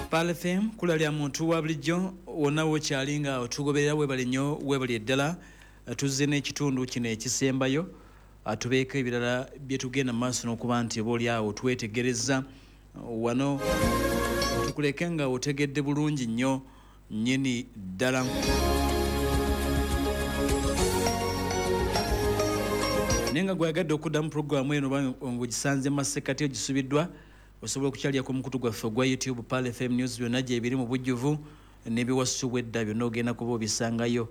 Pearl FM kula lya muntu wa bulijjo wonna wokyali nga otugoberera, webale nnyo, webale ddala. Tuzze n'ekitundu kino ekisembayo, tubeeko ebirala bye tugenda mu maaso n'okuba nti oba oli awo twetegereza wano, tukuleke nga otegedde bulungi nnyo nnyini ddala. Naye nga gweyagadde okuddamu puroguramu eno oba ng'ogisanze mu masekkati ogisubiddwa, osobola okukyalira ku mukutu gwaffe ogwa YouTube, Pearl FM News, byonna gyebiri mu bujjuvu n'ebiwasubwa edda byonna ogenda kuba obisangayo.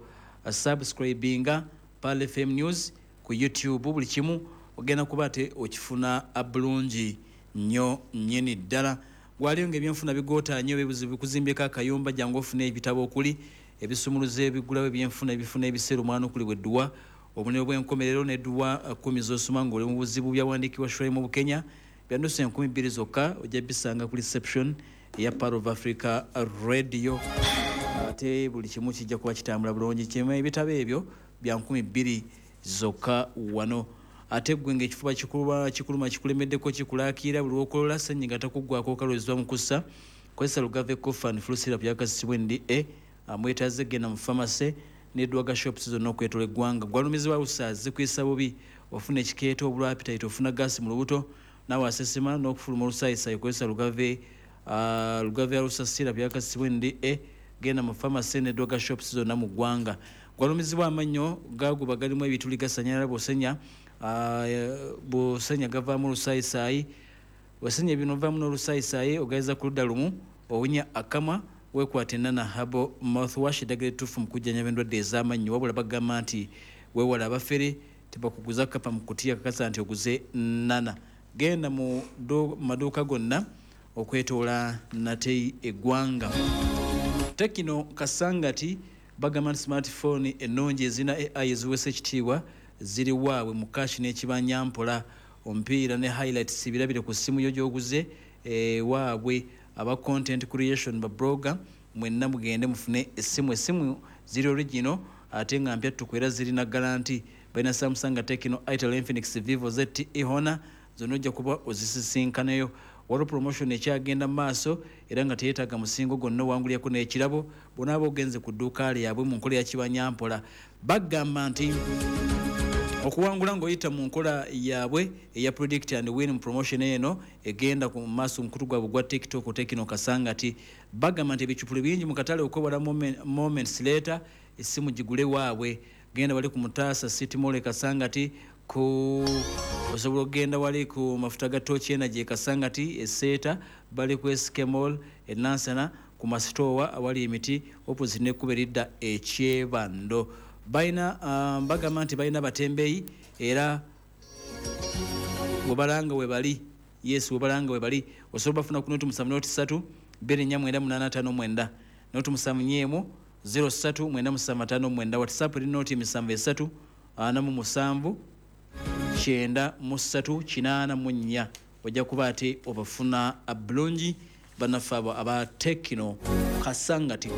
Subscribinga Pearl FM News ku YouTube, buli kimu ogenda kuba ate okifuna bulungi nnyo nnyini ddala. Gwaliyo ng'ebyenfuna bigoota nnyo, ebibuzibu bikuzimbyeko akayumba, jangu ofune ebitabo okuli ebisumuluzo ebigulawo ebyenfuna, ebifuna ebiseera omwanukulibwa edduwa, obubonero bw'enkomerero n'edduwa 10 z'osoma ng'oli mu buzibu, byawandiikibwa Shuraim Bukenya, bya nusu 2000 zokka, ojja bisanga ku reception eya Pearl of Africa Radio. Ate buli kimu kijja kuba kitambula bulungi. Kimu ebitabo ebyo bya 2000 zokka wano. Ate ggwe ng'ekifuba kikuluma kikulemeddeko, kikulaakira buli lw'okolola, ssenyiga takuggwako, okalwezebwa mu kussa, kozesa Lugave Cough and Flu Syrup yakazisibwa NDA. Mwetaaze genda mu pharmacy ne drug shops zonna okwetola eggwanga. Gwalumizibwa ulcers zikuyisa bubi, ofuna ekikeeto, obulwa appetite, ofuna gaasi mu lubuto, naawe asesema n'okufuluma olusaayisayi, kozesa Lugave ulcer syrup yakazisibwa NDA. Genda mu pharmacy ne drug shops zonna mu ggwanga. Gwalumizibwa amannyo gaguba galimu ebituli gasanyalala, bw'osenya gavaamu olusaayisayi, osenya bino ovaamu n'olusaayisayi, ogaiza ku ludda lumu, owunya akamwa, weekwate Nana Herbal Mouthwash, eddagala ettuufu mu kujjanjaba endwadde ez'amannyo. Wabula bagamba nti weewale abafere, tebakuguza kapa mu kutiya, kakasa nti oguze Nana. Genda mu maduuka gonna okwetoola nate eggwanga. Tecno Kasangati bagamba nti smartphone ennungi ezirina AI eziweesa ekitiibwa ziri waabwe mu cash n'ekibanyampola. Omupiira ne highlights birabire ku ssimu yo gy'oguze waabwe. Aba content creation, ba blogger, mwenna mugende mufune essimu. Essimu ziri original ate nga mpya ttuku era zirina guarantee. Balina Samsung, Tecno, Itel, Infinix, Vivo, ZTE, Honor, zonna ojja kuba ozisisinkanayo. Waliwo promotion ekyagenda mu maaso era nga teyeetaaga musingo gwonna, owangulirako n'ekirabo bw'onaaba ogenze ku dduuka lyabwe mu nkola ya kibanyampola. Bagamba nti okuwangula ng'oyita mu nkola yaabwe eya predict and win mu promotion eno egenda ku maaso mukutu gwabwe gwa TikTok, Tecno Kasangati. Bagamba nti ebicupuli bingi mu katale, okwewala moments later, essimu gigule waabwe. Genda wali ku Mutaasa City Mall e Kasangati, ku osobola okugenda wali ku mafuta ga Torch Energy e Kasangati, eseeta bali ku SK Mall e Nansana ku masitoowa awali emiti opposite n'ekkubo eridda ekyebando. Balina bagamba nti balina batembeeyi era webalanga webali. Yes, webalanga webali. Osobola bafuna ku 070 03 249859, 071 03 9759. WhatsApp eri 073 47 93 84. Ojja kuba ate obafuna bulungi bannaffe abo aba Tecno Kasangati.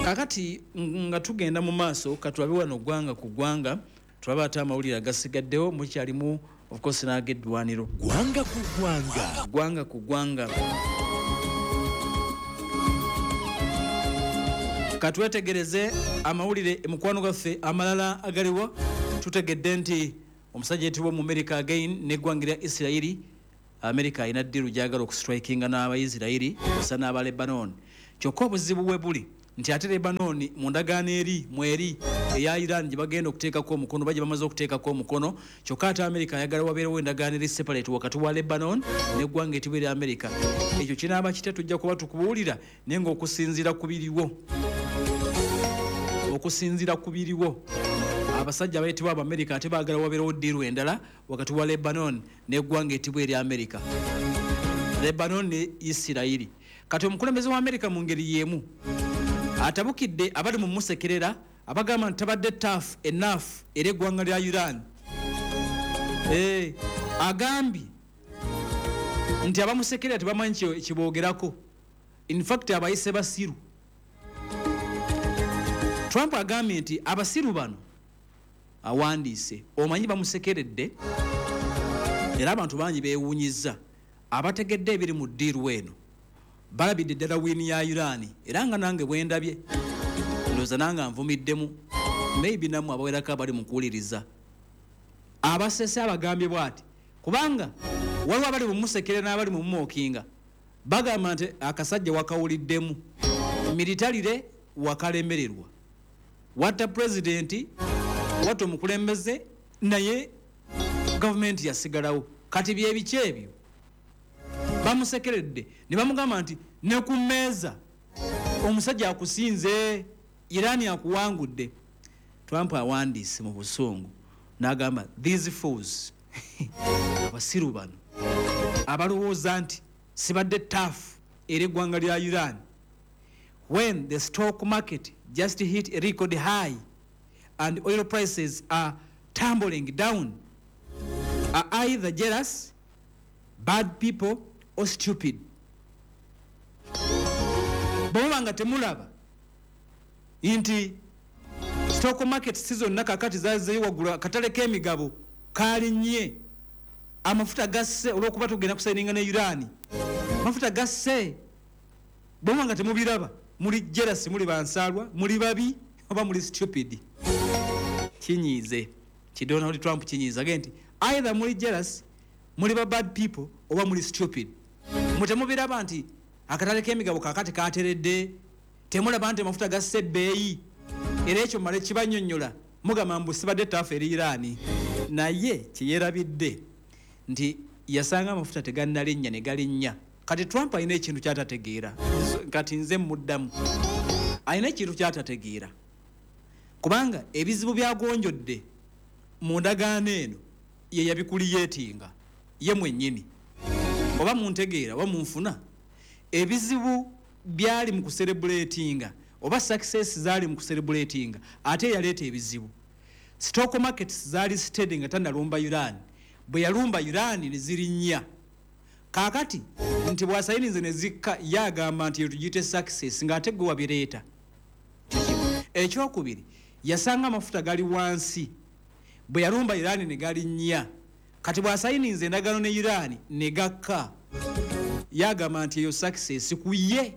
Kakati nga tugenda mu maaso, katulabe wano ggwanga ku ggwanga, tulabe ate amawulire agasigaddewo. Mukyalimu of course n'ag'eddwaniro. Ggwanga ku ggwanga. Ggwanga ku ggwanga, katwetegereze amawulire mukwano gwaffe amalala agaliwo. Tutegedde nti omusajja yetibwa mu America again n'eggwanga lya Isirayiri. America alina deal gyagala okustrikinga n'Abaisirayiri osa n'aba Lebanon, kyokka obuzibu bwe buli nti ate Lebanon mu ndagaano eri mweri eya Iran gye bagenda okuteekako omukono, oba gye bamaze okuteekako omukono, kyokka ate America ayagala wabeerewo endagaano eri separate wakati wa Lebanon n'eggwanga etibwa erya America. Ekyo kinaaba kitya? Tujja kuba tukubuulira, naye ng'okusinziira ku biriwo, abasajja abayitibwa Abamerika ate baagala wabeerewo deal endala wakati wa Lebanon n'eggwanga etibwa erya America, Lebanon ne Isirayiri. Kati omukulembeze wa America mu ngeri y'emu atabukidde abali mu musekerera abagamba nti tabadde tough enough era eggwanga lya Iran. Agambye nti abamusekerera tebamanyi kiboogerako. In fact abayise basiru. Trump agambye nti abasiru bano awandiise, omanyi bamusekeredde era abantu bangi beewuunyizza abategedde ebiri mu deal eno. Balabidde ddala win ya Iran, era nga nange bwendabye ndowooza nange nvumiddemu, maybe nammwe abawerako abali mu kuwuliriza. Abasese abagambye bw'ati, kubanga waliwo abali mumusekere n'abali mumumockinga, bagamba nti akasajja wakawuliddemu, militarily wakalemererwa, watta pulezidenti, watta omukulembeze, naye gavumenti yasigalawo. Kati byebiki ebyo? Bamusekeredde ne bamugamba nti ne ku mmeeza omusajja akusinze, Iran akuwangudde. Trump awandiise mu busungu n'agamba, "These fools," abasiru bano abalowooza nti sibadde tough era eggwanga lya Iran, when the stock market just hit a record high and oil prices are tumbling down, are either jealous, bad people or stupid. Bwemuba nga temulaba nti stock market si zonna kakati zazeyo waggulu, akatale k'emigabo kalinnye, amafuta gasse olwokuba tugenda kusigninga ne Iran, amafuta gasse, bwemuba nga temubiraba, muli jealous, muli bansaalwa, muli babi oba muli stupid. Kinyiize ki Donald Trump, kinyiiza ge nti either muli jealous, muli ba bad people oba muli stupid. Mutemubiraba nti akatale k'emigabo kakati kateredde? Temulaba nti amafuta gasse ebbeeyi? Era ekyo male kibanyonnyola, mugamba mbu sibadde tough eri Iran. Naye kyeyerabidde nti yasanga amafuta tegannalinnya ne galinnya. Kati Trump alina ekintu kyatategeera. Kati nze muddamu, alina ekintu kyatategeera, kubanga ebizibu byagonjodde mu ndagaano eno ye yabicreatinga ye mwennyini. Oba muntegeera oba munfuna, ebizibu byali mu kucelebratinga oba success zaali mu kucelebratinga, ate yaleeta ebizibu. Stock markets zaali steady nga tannalumba Iran. Bwe yalumba Iran ne zirinnya. Kaakati nti bw'asigninze ne zikka, ye agamba nti tugiyite success, ng'ate gwe wabireeta. Ekyokubiri, yasanga amafuta gali wansi, bwe yalumba Iran ne galinnya. Kati bw'asigninze endagaano ne Iran ne gakka, yagamba nti eyo success ku ye.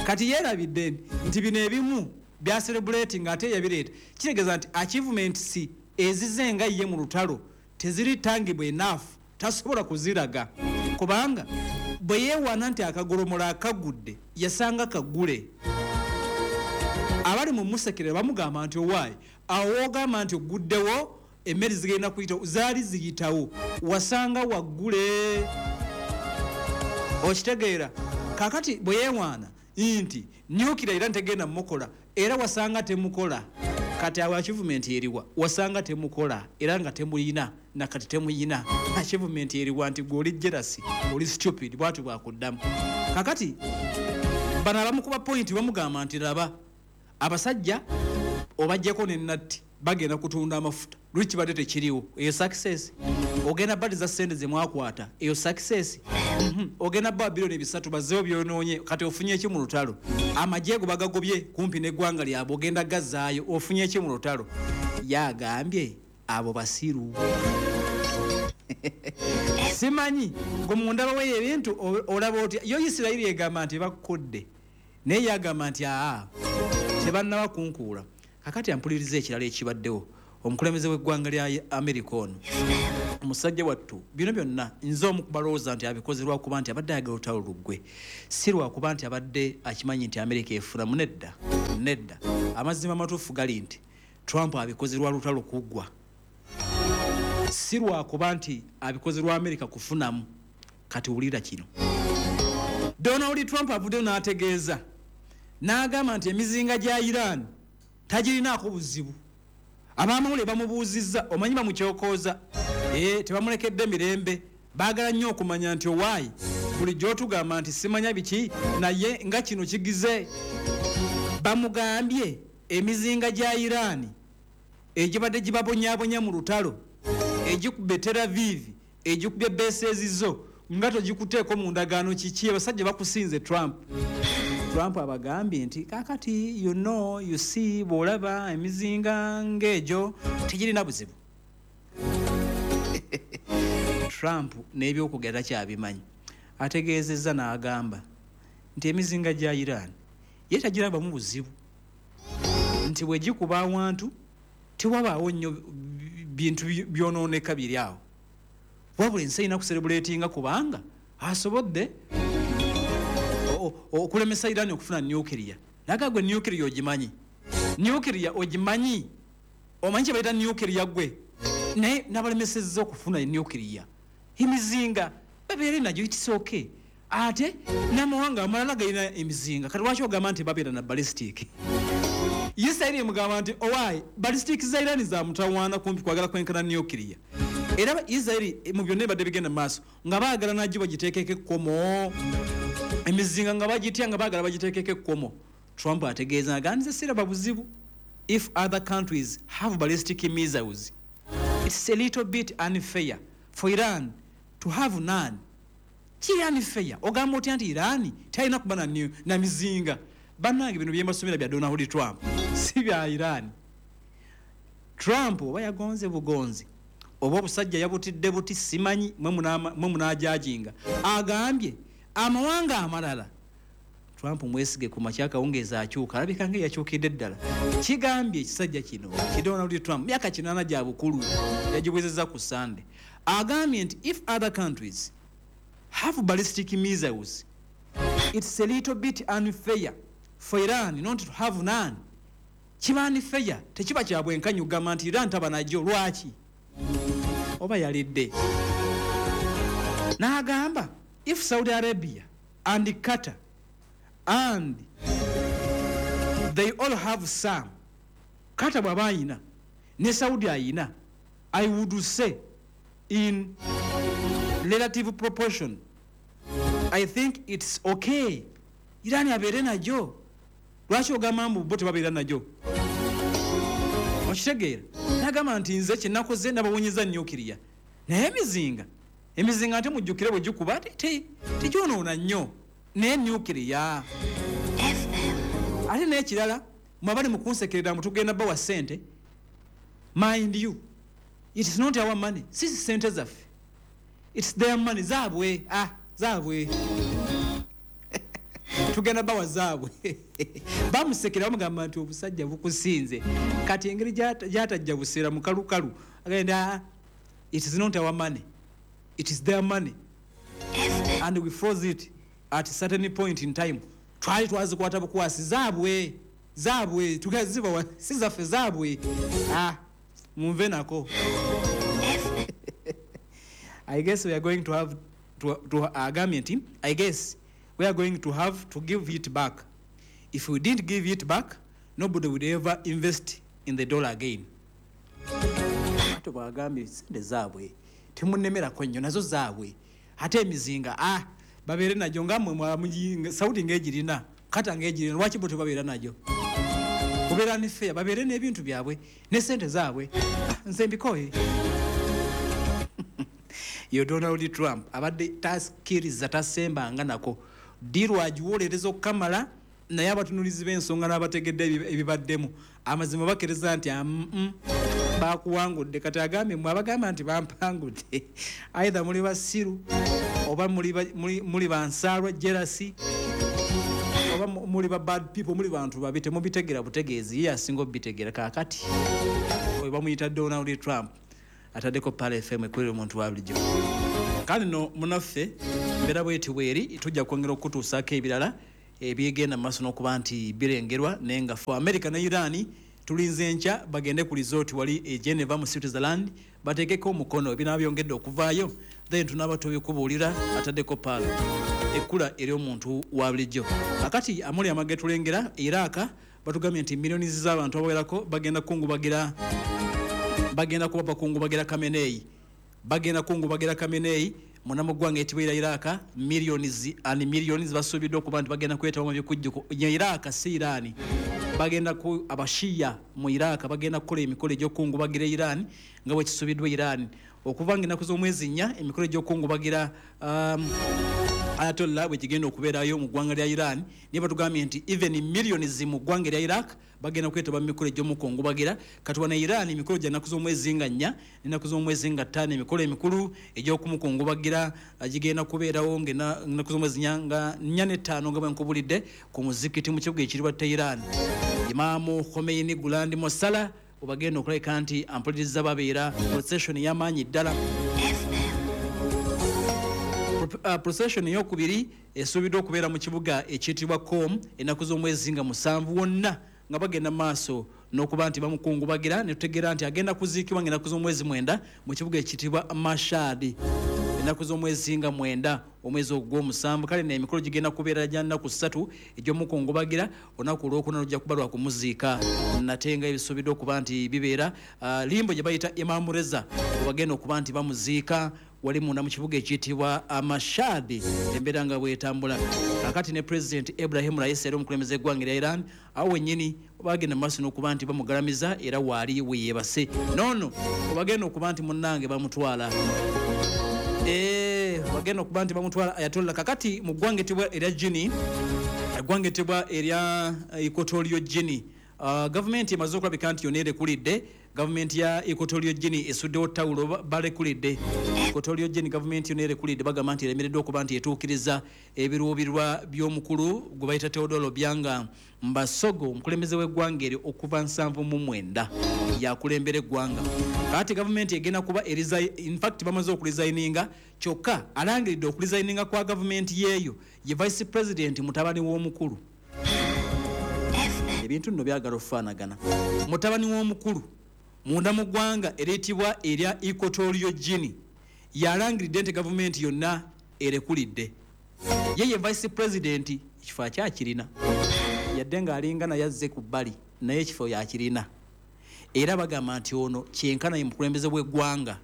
Kati yeerabidde nti bino ebimu byacelebrating ate yabireeta. Kitegeeza nti achievements ezize nga ye mu lutalo teziri tangible enough, tasobola kuziraga, kubanga bwe yeewaana nti akagolomola akagudde, yasanga kagule. Abali mu musekere bamugamba nti owaayi, awo wogamba nti oguddewo emmere zigenda kuyitawo, zaali ziyitawo, wasanga waggule. Okitegeera? Kakati bwe yeewaana nti nuclear era ntegenda mukola, era wasanga temukola. Kati awo achievement eriwa? Wasanga temukola era nga temuyina, nakati temuyina. Achievement eriwa? Nti gwe oli jealous, oli stupid, bwati bwakuddamu. Kakati bano abamukuba point bamugamba nti laba abasajja obajjako nenatti, bagenda kutunda amafuta, luli kibadde tekiriwo. Eyo success? Ogenda badiza sente zemwakwata, eyo success? Ogenda ba 3 billion bazzeewo byonoonye, kati ofunye ki mu lutalo? Amagye go bagagobye kumpi n'eggwanga lyabwe, ogenda gazaayo, ofunye ki mu lutalo? Yagambye abo basiru. Simanyi gwe mundaba weyo ebintu olaba otya? Yo Isirayiri egamba nti bakkodde, naye yagamba nti aa, tebannaba kunkuula. Kakati ampuliriza ekirala ekibaddewo, omukulembeze w'eggwanga lya Amerika ono omusajja wattu, bino byonna nze omu kubalowooza nti abikoze lwakuba nti abadde ayagala olutalo luggwe, si lwakuba nti abadde akimanyi nti Amerika efunamu. Nedda, nedda. Amazima amatuufu gali nti Trump abikoze lwa lutalo kuggwa, si lwakuba nti abikoze lwa Amerika kufunamu. Kati wulira kino, Donald Trump avuddeyo n'ategeeza n'agamba nti emizinga gya Iran tagirinaako buzibu. Abamawulire bamubuuzizza, omanyi bamukyokooza, tebamulekedde mirembe, baagala nnyo okumanya nti owaayi, bulijjo otugamba nti simanya biki, naye nga kino kigize. Bamugambye emizinga gya Iran egibadde gibabonyabonya mu lutalo, egikubye Tel Aviv, egikubye bases zo, nga togikuteeko mu ndagaano, kiki? Abasajja bakusinze, Trump. Trump abagambye nti kakati you see, bw'olaba emizinga ng'egyo tegirina buzibu. Trump n'ebyokugera kyabimanyi, ategeezezza n'agamba Nti emizinga gya Iran ye tagirabamu buzibu, nti bwe gikuba awantu tewabaawo nnyo bintu byonooneka biri awo, wabula ensi erina kucelebratinga kubanga asobodde okulemesa Iran okufuna nuclear. Naga gwe nuclear ogimanyi? Nuclear ogimanyi? Omanyi kye bayita nuclear gwe? Naye nabalemesezza okufuna nuclear, emizinga babeere nagyo, it's okay. Ate n'amawanga amalala galina emizinga, kati lwaki ogamba nti babeera na ballistic? Isirairi emugamba nti owaayi, ballistic za Iran za mutawaana, kumpi kwagala kwenkana nuclear. Era Isirairi mu byonna ebadde bigenda mu maaso nga baagala nagyo bagiteekeko ekkomo, emizinga nga bagitya, nga baagala bagiteekeko ekkomo. Trump ategeeza nga nze siraba buzibu. If other countries have ballistic missiles, it's a little bit unfair for Iran to have none. Kiri unfair. Ogamba otya nti Iran talina kuba na mizinga? Bannange, bino byembasomera bya Donald Trump, si bya Iran. Trump oba yagonze bugonzi oba obusajja yabutidde buti, simanyi, mwe munajajinga. Agambye amawanga amalala. Trump mwesige, ku makya akawungeezi akyuka, alabika nga yakyukidde ddala. Kigambye ekisajja kino ki Donald Trump, myaka 80 gya bukulu, yagiwezezza ku Sande. Agambye nti if other countries have ballistic missiles, it's a little bit unfair for Iran not to have none. Kiba unfair, tekiba kya bwenkanya okugamba nti Iran taba nagyo. Lwaki? Oba yalidde. N'agamba if Saudi Arabia and Qatar and they all have some, Qatar bw'aba ayina ne Saudi ayina, I would say in relative proportion I think it's okay Iran abeere nagyo. Lwaki ogamba mbu bo tebabeera nagyo? Okitegeera? Nagamba nti nze kyenakoze nabawonyeza nuclear, naye emizinga ate mujjukire bwe gikuba tegyonoona nnyo, naye nuclear. Ate n'ekirala, mwabali mu kunsekerera mbu tugenda bawa ssente, mind you, it is not our money, si sente zaffe, it's their money, zaabwe. Ah, zaabwe, tugenda bawa zaabwe. Bamusekera, bamugamba nti obusajja bukusinze. Kati engeri gyatajja buseera mukalukalu, agenda, "Ah, it is not our money, it is their money and we froze it at a certain point in time. Twali twazikwata bukwasi, zaabwe, zaabwe, tugazibawa, si zaffe, zaabwe." Ah, munve nako. I guess we are going to have to agambye nti I guess we are going to have to give it back. If we didn't give it back, nobody would ever invest in the dollar again. Ate bwagambye sente zaabwe, temunemerako nnyo, nazo zaabwe. Ate emizinga, ah, babeere nagyo nga mmwe Saudi ng'egirina, Kata ng'egirina, lwaki bo tebabeera nagyo? Kubeera ne fair, babeere n'ebintu byabwe ne sente zaabwe. Ah, nze mbikoye. Yo Donald Trump abadde takkiriza, tasembanga nako deal agiwolereza okukamala, naye abatunulizi b'ensonga n'abategedde ebibaddemu amazima bakkiriza nti bakuwangudde. Kati agambye mwe abagamba nti bampangudde, either muli basiru oba muli bansaalwa, jealousy, oba muli ba bad people, muli bantu babi, temubitegera butegeezi, ye asinga obitegeera. Kaakati oyo bamuyita Donald Trump. Ataddeko Pearl FM, ekulira omuntu wa bulijjo. Kale no munaffe, mbeera bweti bweri, tujja kwongera okutuusaako ebirala ebyegenda mu maaso n'okuba nti birengerwa. Naye nga fe America ne Iran tulinze enkya bagende ku resort wali e Geneva mu Switzerland bateekeko omukono. Ebinaaba byongedde okuvaayo, then tunaaba tubikubuulira. Ataddeko Pearl, ekkula eri omuntu wa bulijjo. Akati amuli amage tulengera Iraq, batugambye nti miliyoni z'abantu abawerako bagenda kungubagira, bagenda kuba bakungubagira Khamenei, bagenda kungubagira Khamenei munamuggwanga etibwera Iraq. Millions and millions basuubiddwa okuba nti bagenda kwetaba mu bikujjuko ya Iraq, si Iran. Bagenda ku abashiya mu Iraq bagenda kukola emikolo egy'okungubagira Iran nga bwe kisuubiddwa Iran okuva nga ennaku z'omwezi 4 emikolo egy'okungubagira. Ayatollah bwe kigenda okubeerayo mu ggwanga lya Iran. Naye batugambye nti even millions mu ggwanga lya Iraq bagenda kwetaba mu mikolo egy'omukungubagira. Kati wano Iran emikolo gya nnaku z'omwezi nga 4 n'ennaku z'omwezi nga 5, emikolo emikulu egy'okumukungubagira gigenda kubeerawo ng'ennaku z'omwezi nga 4 ne 5 nga bwe nkubulidde ku muzikiti mu kibuga ekiribwa Tehran. Imaamu Khomeini Grand Mosala obagenda okulabika nti ampuliriza babeera procession y'amaanyi ddala. Procession eyokubiri esuubiddwa okubeera mu kibuga ekiyitibwa Qom ennaku z'omwezi nga 7 wonna nga bagenda maaso n'okuba nti bamukungubagira, ne tutegeera nti agenda kuziikibwa ng'ennaku z'omwezi 9 mu kibuga ekiyitibwa Mashhad ennaku z'omwezi nga 9 omwezi ogw'omusanvu. Kale n'emikolo gigenda kubeera gya nnaku 3 egy'omukungubagira, olunaku olwokuna lujja kuba lwa kumuziika nate nga ebisuubiddwa okuba nti bibeera limbo gye bayita Imam Reza webagenda okuba nti bamuziika wali munda mu kibuga ekiyitibwa Mashhad, embeera nga bwetambula. Kakati ne President Ibrahim Raisi era omukulembeze w'eggwanga erya Iran awo wennyini bagenda maaso n'okuba nti bamugalamiza era waali we yeebase. Noono webagenda okuba nti munnange bamutwala bagenda okuba nti bamutwala Ayatollah. Kakati mu ggwanga etibwa erya Guinea, eggwanga etibwa erya Equatorial Guinea, gavumenti emaze okulabika nti yonna erekulidde. Gavumenti ya Equatorial Guinea esuddewo ttawulo, balekulidde. Equatorial Guinea gavumenti yonna erekulidde, bagamba nti eremereddwa okuba nti etuukiriza ebiruubirwa by'omukulu gwe bayita Teodoro Obiang Mbasogo, omukulembeze w'eggwanga eryo okuva 79 yakulembera eggwanga. Kaati gavumenti egenda kuba in fact bamaze okuresigninga, kyokka alangiridde okuresigninga kwa gavumenti yeeyo ye vice president mutabani w'omukulu. Ebintu nno byagala okufaanagana. Mutabani w'omukulu munda mu ggwanga eriyitibwa erya Equatorial Guinea yalangiridde nti gavumenti yonna erekulidde. Ye ye vice president ekifo akyakirina, yadde ng'alinga naye azze ku bbali, naye ekifo yakirina. Era bagamba nti ono kyenkana ye mukulembeze w'eggwanga.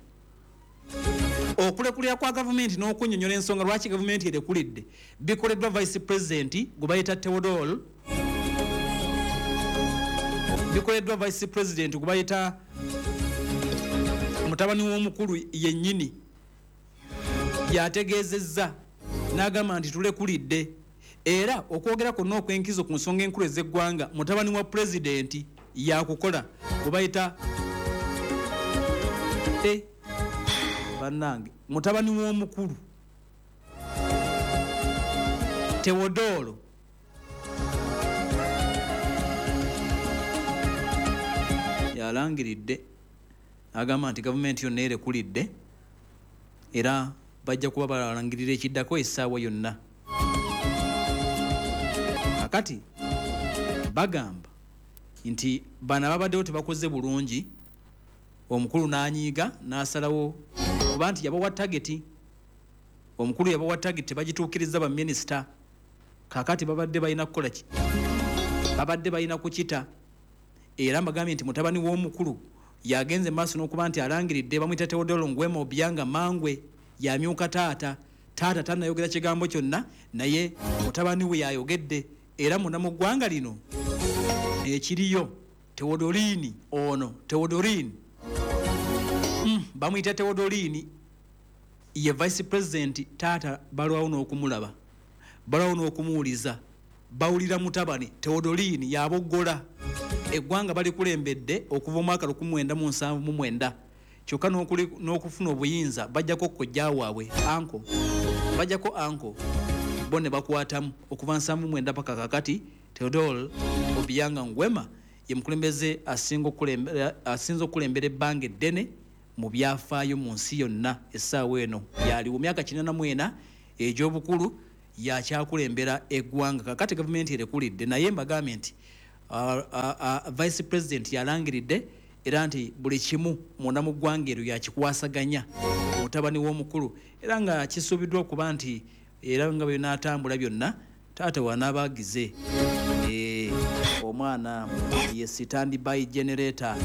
Okulekulira kwa gavumenti n'okunnyonnyola ensonga lwaki gavumenti erekulidde bikoleddwa vice president gwe bayita Teodoro, bikoleddwa vice president gwe bayita mutabani w'omukulu yennyini yategeezezza n'agamba nti tulekulidde. Era okwogera kwonna okw'enkizo ku nsonga enkulu ez'eggwanga mutabani wa pulezidenti yakukola gwe bayita bannange mutabani w'omukulu Teodoro yalangiridde agamba nti gavumenti yonna erekulidde era bajja kuba balangirira ekiddako essaawa yonna. Kakati bagamba nti bano ababaddewo tebakoze bulungi, omukulu n'anyiiga n'asalawo kuba nti yabawa tageti, omukulu yabawa tageti tebagituukiriza baminisita. Kakati babadde balina kukola ki? Babadde balina kukita. Era mbagambye nti mutabani w'omukulu yagenze maaso n'okuba nti alangiridde, bamuyita Teodoro Nguema Obiang Mangwe, yamyuka taata. Taata tannayogera kigambo kyonna, naye mutabani we yayogedde. Era munda mu ggwanga lino ekiriyo Teodorini ono, Teodorini bamuyita Teodorini, ye vice president. Taata balwawo n'okumulaba, balwawo n'okumuwuliza, bawulira mutabani Teodorini yaboggola. Eggwanga balikulembedde okuva omwaka 1979, kyokka n'okufuna obuyinza bajjako kojja waabwe anko, bajjako anko bo ne bakwatamu okuva 79 paka kakati. Teodoro Obiang Nguema ye mukulembeze asinga okukulembera ebbanga eddene mu byafaayo mu nsi yonna. Essaawa eno yaliwo myaka 84 egy'obukulu, yakyakulembera eggwanga. Kakati gavumenti erekulidde, naye mbagambye nti vice president yalangiridde era nti buli kimu munda mu ggwanga eryo yakikwasaganya mutabani w'omukulu, era nga kisuubiddwa okuba nti era nga binaatambula byonna taata wanaabaagize omwana ye standby generator,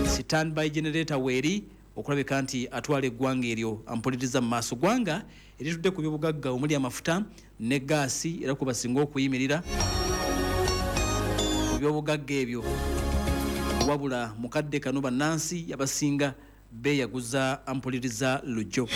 standby generator weeri okulabika nti atwala eggwanga eryo ampuliriza mu maaso. Ggwanga eritudde ku byobugagga omuli amafuta ne gaasi, era kwe basinga okuyimirira ku byobugagga ebyo. Wabula mu kadde kano bannansi abasinga beeyaguza ampuliriza lujjo.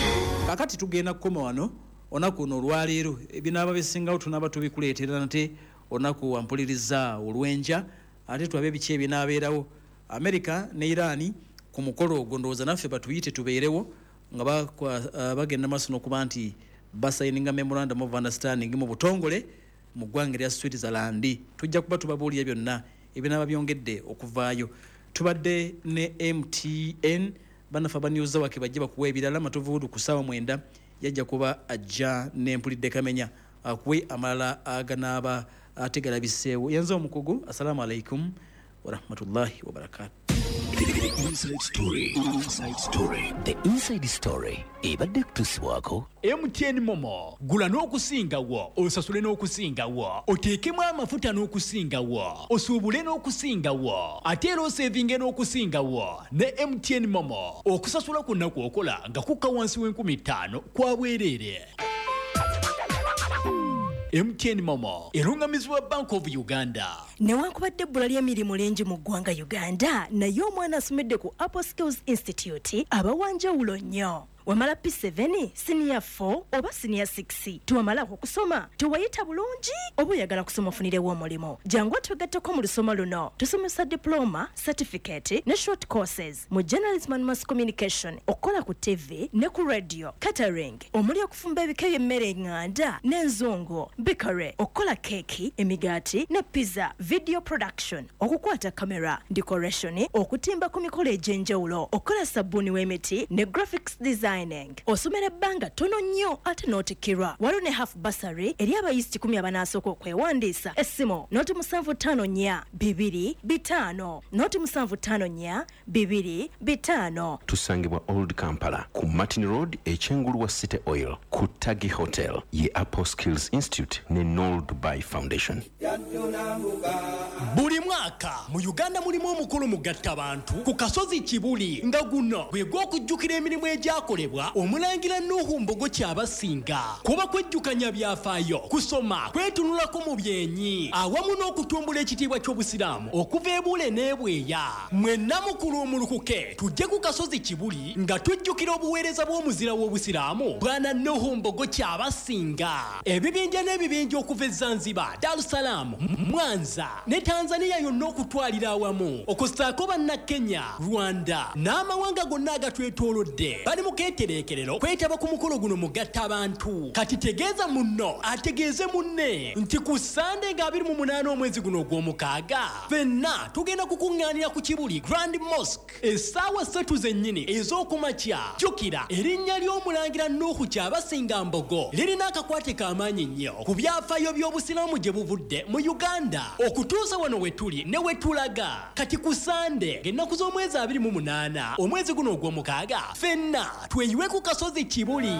Kaakati tugenda kukoma wano. Olunaku luno olwaleero ebinaaba bisingawo tunaaba tubikuleetera nate olunaku wampuliriza olw'enkya, ate tulabe biki ebinaabeerawo America ne Iran ku mukolo ogwo. Ndowooza naffe batuyite tubeerewo nga bagenda maaso n'okuba nti basayininga memorandum of understanding mu butongole mu ggwanga erya Switzerland. Tujja kuba tubabuulira byonna ebinaaba byongedde okuvaayo. Tubadde ne MTN, bannaffe abaniuza wake bajje bakuwa ebirala. Matovu ku ssaawa 9 yajja kuba ajja n'empulidde kamenya akuwe amalala aganaaba ategalabiseewo. Yenze omukugu. Assalamu alaikum warahmatullahi wabarakatu. The Inside Story. Inside Story. The Inside Story. Ebadde kutuusibwako MTN Momo. Gula n'okusingawo, osasule n'okusingawo, oteekemu amafuta n'okusingawo, osuubule n'okusingawo, ate era osevinge n'okusingawo ne MTN Momo. Okusasula kwonna kw'okola nga kukka wansi w'5,000 kwa bwereere. MTN Momo erungamizibwa Bank of Uganda. Newankubadde ebbula ly'emirimu lingi mu ggwanga Uganda, naye omwana asomedde ku Apple Skills Institute aba wanjawulo nnyo. Wamala P7, senior 4 oba senior 6, tewamalako kusoma, tewayita bulungi oba oyagala kusoma ofunirewo omulimu, jangu otwegatteko mu lusoma luno. Tusomesa diploma, certificate ne short courses mu journalism and mass communication, okukola ku TV ne ku radio, catering omuli okufumba ebika by'emmere eŋŋanda n'enzungu, bakery, okukola keeki, emigaati ne pizza, video production, okukwata kamera, decoration, okutimba ku mikolo egy'enjawulo, okukola sabbuuni w'emiti ne graphics design. Osomera ebbanga ttono nnyo ate n'otikkirwa. Waliwo ne half bursary eri abayizi 10 abanaasooka okwewandiisa. Essimu 0754 2 5 0754 2 5. Tusangibwa Old Kampala ku Martin Road, ekyengulu wa City Oil, ku Tagi Hotel ye Apple Skills Institute ne Nol Dubai Foundation. Buli mwaka mu Uganda mulimu omukolo mugattabantu ku kasozi Kibuli, nga guno gwe gw'okujjukira emirimu egyakolebwa omulangira Nuhu Mbogo Kyabasinga. Kuba kwejjukanya byafaayo, kusoma, kwetunulako mu byenyi, awamu n'okutumbula ekitiibwa ky'obusiraamu okuva ebuule n'ebweya. Mwenna mukulu omulukuke tujje ku kasozi Kibuli nga tujjukira obuweereza bw'omuzira w'obusiraamu Bwana Nuhu Mbogo Kyabasinga. Ebibinja n'ebibinja okuva e Zanzibar, Dar es Salaam, Mwanza ne Tanzania yonna okutwalira awamu, okussaako bannakenya, Rwanda n'amawanga gonna agatwetoolodde bali mu keetereekerero kwetaba ku mukolo guno mugatta abantu. Kati tegeeza munno ategeeze munne nti ku Sande nga 28 omwezi guno ogw'omukaaga ffenna tugenda kukuŋŋaanira ku Kibuli Grand Mosque essaawa 3 zennyini ez'okumakya. Jjukira erinnya ly'omulangira Nuhu Kyabasinga Mbogo lirina akakwate k'amaanyi nnyo ku byafaayo by'obusiraamu gye buvudde mu Uganda okutuusa wano we tuli ne we tulaga. Kati ku Sande ng'ennaku z'omwezi 28 omwezi guno ogw'omukaaga ffenna tweyiwe ku kasozi Kibuli.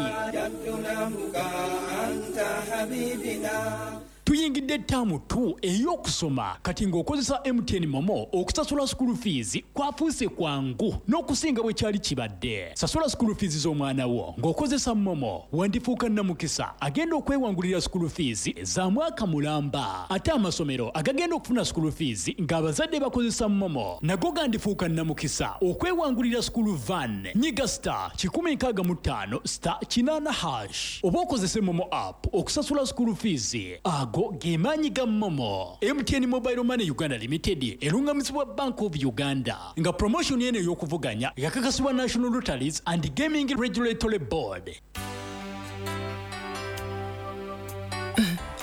Tuyingidde ttaamu 2 ey'okusoma kati ng'okozesa MTN Momo okusasula school fees kwafuuse kwangu n'okusinga bwe kyali kibadde. Sasula school fees z'omwana wo ng'okozesa Momo, wandifuuka namukisa agenda okwewangulira school fees za mwaka mulamba. Ate amasomero agagenda okufuna school fees ng'abazadde bakozesa Momo nago gandifuuka namukisa okwewangulira school van. Nyiga star 165 star 8 hash oba okozese Momo app okusasula school fees. Ago gemanyi ga Momo. MTN Mobile Money Uganda Limited erungamizibwa Bank of Uganda nga promotion eno ey'okuvuganya yakakasibwa National Lotteries and Gaming Regulatory Board.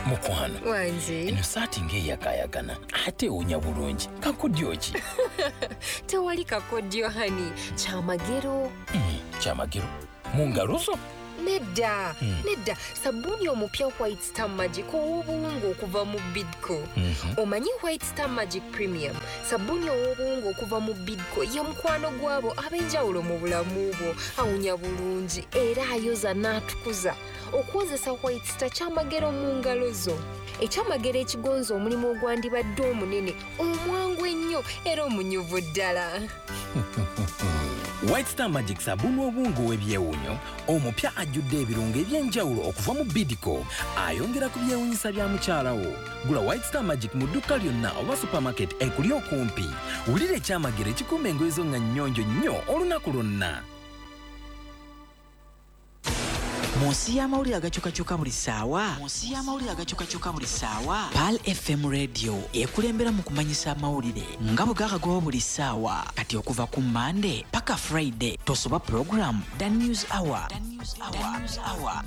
Mukwano Wangi. Eno saati ng'eyakaayakana ate ewunya bulungi. Kakodyo ki? Tewali kakodyo hani, kyamagero. Kyamagero mu ngalo zo? Nedda, nedda, sabbuuni omupya White Star Magic ow'obuwunga okuva mu Bidco. Omanyi White Star Magic Premium, sabbuuni ow'obuwunga okuva mu Bidco ye mukwano gw'abo ab'enjawulo mu bulamu bwo, awunya bulungi era ayoza n'atukuza. Okwozesa White Star kyamagero mu ngalo zo. Ekyamagero ekigonza omulimu ogwandibadde omunene, omwangu ennyo era omunyuvu ddala. White Star Magic sabbuuni w'obuwunga ow'ebyewuunyo omupya ajjudde ebirungo eby'enjawulo okuva mu Bidco, ayongera ku byewuunyisa bya mukyala wo. Gula White Star Magic mu dduuka lyonna oba supermarket ekuli okumpi. Wulira ekyamagero ekikuuma engoye zo nga nnyonjo nnyo olunaku lwonna. Mu nsi y'amawulire agakyukakyuka buli ssaawa, mu nsi y'amawulire agakyukakyuka buli ssaawa, Pearl FM Radio ekulembera mu kumanyisa amawulire nga bwe gakagwawo buli ssaawa. Kati okuva ku Monday paka Friday tosoba program The News Hour.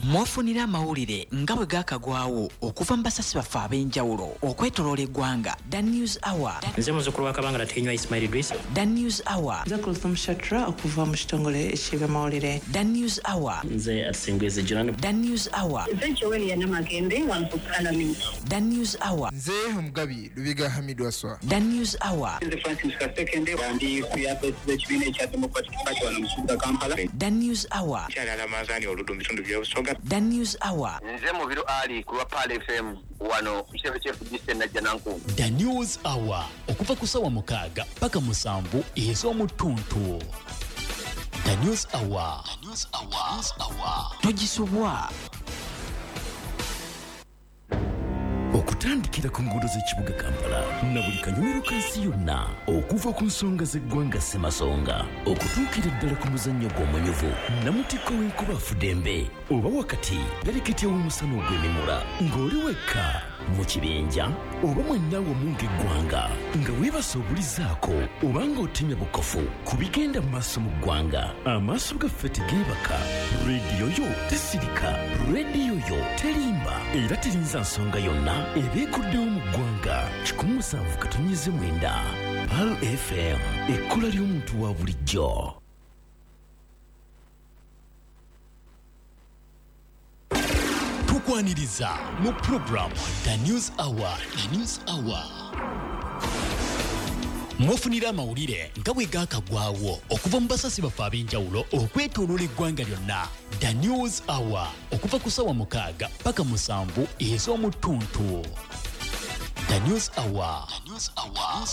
Mwofunira amawulire nga bwe gakagwawo okuva mu basasi baffe ab'enjawulo okwetoloola eggwanga. The News Hour. Nze muzzukulu wa Kabangala Tenywa Ismail Idris. The News Hour. Nze Kulthum Shatra okuva mu kitongole eky'ebyamawulire. The News Hour. Nze Atsingwezi Joan. The News Hour. Nze Joel Yanamagembe wano ku Parliament. The News Hour. Nze Omugabi Lubiga Hamid Waswa. The News Hour. Nze Francis Kasekende ndi ku yafesi z'ekibiina ekya Democratic Party wano mu kibuga Kampala. The News Hour. Kyali Alamazani Oludu mu bitundu by'Obusoga. The News Hour. Nze Mubiru Ali ku lwa Pearl FM wano ku kitebe ky'FDC Najjanankumbi. The News Hour okuva ku ssaawa 6 paka 7 ez'omutuntu. The News Hour. The News Hour. News Hour. Togisubwa. Okutandikira ku nguudo z'ekibuga Kampala na buli kanyumiro ka nsi yonna, okuva ku nsonga z'eggwanga Ssemasonga okutuukira ddala ku muzannyo gw'omunyuvu namutikko w'enkuba afudembe oba wakati bereketya w'omusana ogw'emimula, ng'oli wekka mu kibinja oba mwenna wamu ng'eggwanga, nga weebasa obulizaako oba ng'otemya bukofu ku bigenda mu maaso mu ggwanga. Amaaso gaffe tegeebaka, rediyo yo tesirika, rediyo yo terimba era terinza nsonga yonna ebeekuddewo mu ggwanga. 107.9 Pearl FM, ekkula ly'omuntu wa bulijjo. Tukwaniriza mu program The News Hour. The News Hour. Mwofunira amawulire nga bwe gaakagwawo okuva mu basasi baffe ab'enjawulo okwetooloola eggwanga lyonna. The News Hour okuva ku ssaawa 6 paka 7 ez'omutuntu. The News Hour. The News Hour.